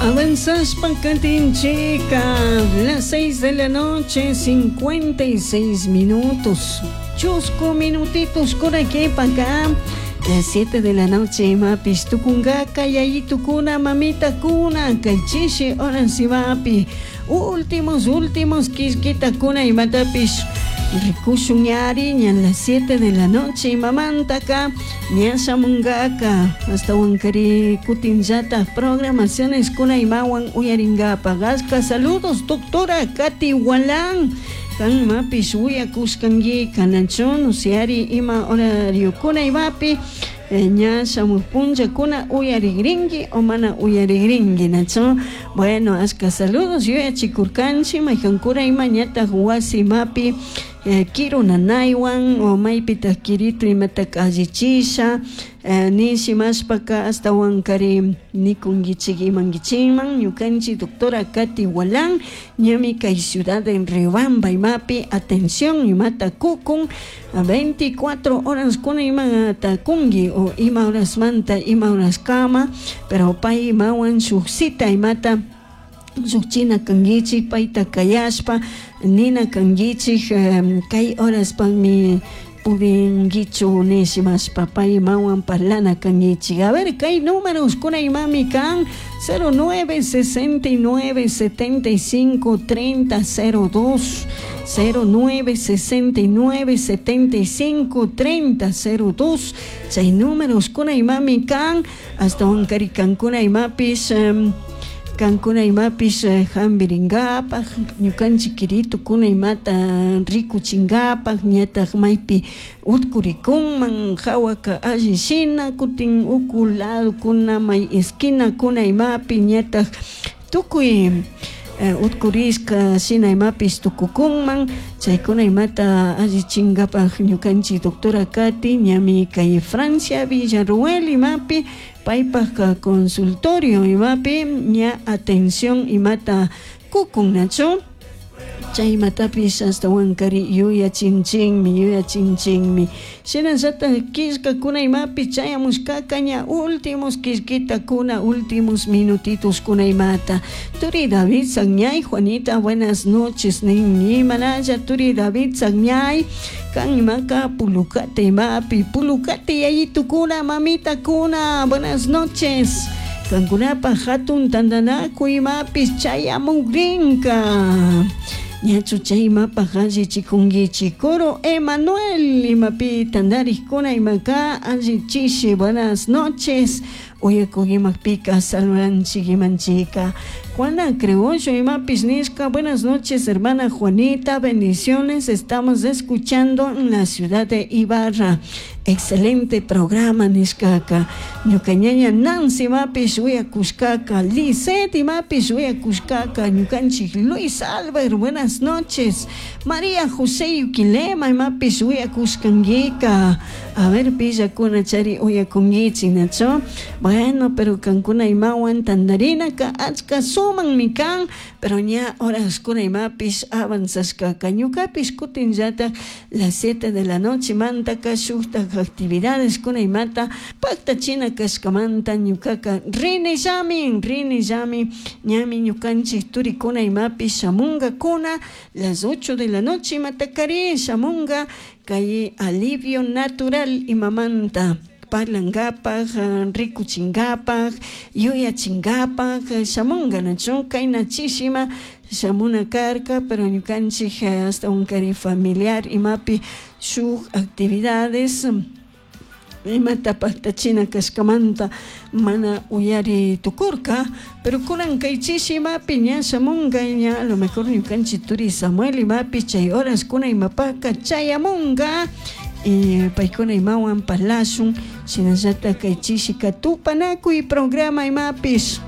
Avanzaspa katinchika, las 6 de la noche, 56 minutos. Chusku minutitos kunakipaka, las 7 de la noche imapish tukunkaka yayitukuna mamitakuna kay chishi horas imapi últimos últimos killkitakuna imatapish rikushun ñari ña las 7 de la noche imamantaka ña shamunkaka ashtawankari kutinllatak programaciones kuna imawan uyarinkapak. Ashka saludos, doctora Katy Walán, kan imapish uyakushkanki nachu nusiari ima horariokuna imapi ña shamuk punllakuna uyarikrinki o mana uyarikrinki nachu. Bueno, ashka saludos yuyachikurkanchik maykankuna ima ñatak wasi imapi kiru nanaywan o maypitak kiritu imataka allichisha nishimashpaka ashtawankari nikunkichik imankichikman ñukanchik doctora Katy Walán ñami kay ciudad de Riobamba imapi atención imata kukun 24 horas kuna imata kunki o ima horasmanta ima horaskama, pero pay imawan shuk cita imata llukchina kankichik payta kayashpa nina kankichik kay horaspakmi pudinkichu nishimashpa pay imawan parlana kankichik. A ver, kay números kuna imami kan 09 69 75 30 02, 09 69 75 30 02, chay números kuna imami kan ashtawankari kankuna imapish kankuna imapish hampirinkapak ñukanchik kiritukuna imata rikuchinkapak ñatak maypi utkurikunman hawaka alli shina kutin uku ladokuna may esquinakuna imapi ñatak tukuy utkurishka shina imapish tukukunman chaykuna imata allichinkapak ñukanchik doctora Katy ñami kay Francia Villarruel imapi paypak consultorio imapi ña atención imata kukun nachu chay imatapish ashtawankari yuyachinchikmi yuyachinchikmi. Shinallatak killkakuna imapi chayamushkaka ña últimos killkitakuna últimos minutitos kuna imata. Turi David Sagñay, Juanita, buenas noches nin imanalla turi David Sagñay kan imaka Pulukate imapi Pulukate yayitukuna mamitakuna, buenas noches. Kankunapak hatun tantanakuy imapish chayamukrinka ñachu chay imapak allichikunkichik. Coro Emanuel imapi tantarikkuna imaka allichishi, buenas noches. Uyakuk imapika saludanchik imanchika. Juana Criollo imapish nishka, buenas noches, hermana Juanita, bendiciones, estamos escuchando en la ciudad de Ibarra, excelente programa nishkaka. Ñuka ñaña Nancy imapish uyakushkaka, Lisette imapish uyakushkaka, ñukanchik Luis Albert, buenas noches. María José Yuquilema imapish uyakushkankika. A ver, pillakuna chari uyakunkichik nachu. Bueno, pero kankuna imawan tantarinaka achka sumanmi kan, pero ña horaskuna imapish avanzashkaka ñukapish kutinllatak las 7 de la noche mantaka shuktak actividades kuna imata paktachina kashkamanta ñukaka rinillami rinillami ñami ñukanchik turikuna imapish shamunkakuna las 8 de la noche imatakari shamunga kay alivio natural imamanta parlankapak rikuchinkapak yuyachinkapak shamunga nachu kayna chishima shamuna karka, pero ñukanchik ashtawankari familiar imapi shuk actividades imata paktachina kashkamanta mana uyari tukurka, pero kunan kay chishi imapi ña shamunga ña a lo mejor ñukanchik turi Samuel imapi chay horas kuna imapaka chayamunga y paykuna imawan parlashun shinallatak kay chishika tupanakuy programa imapish.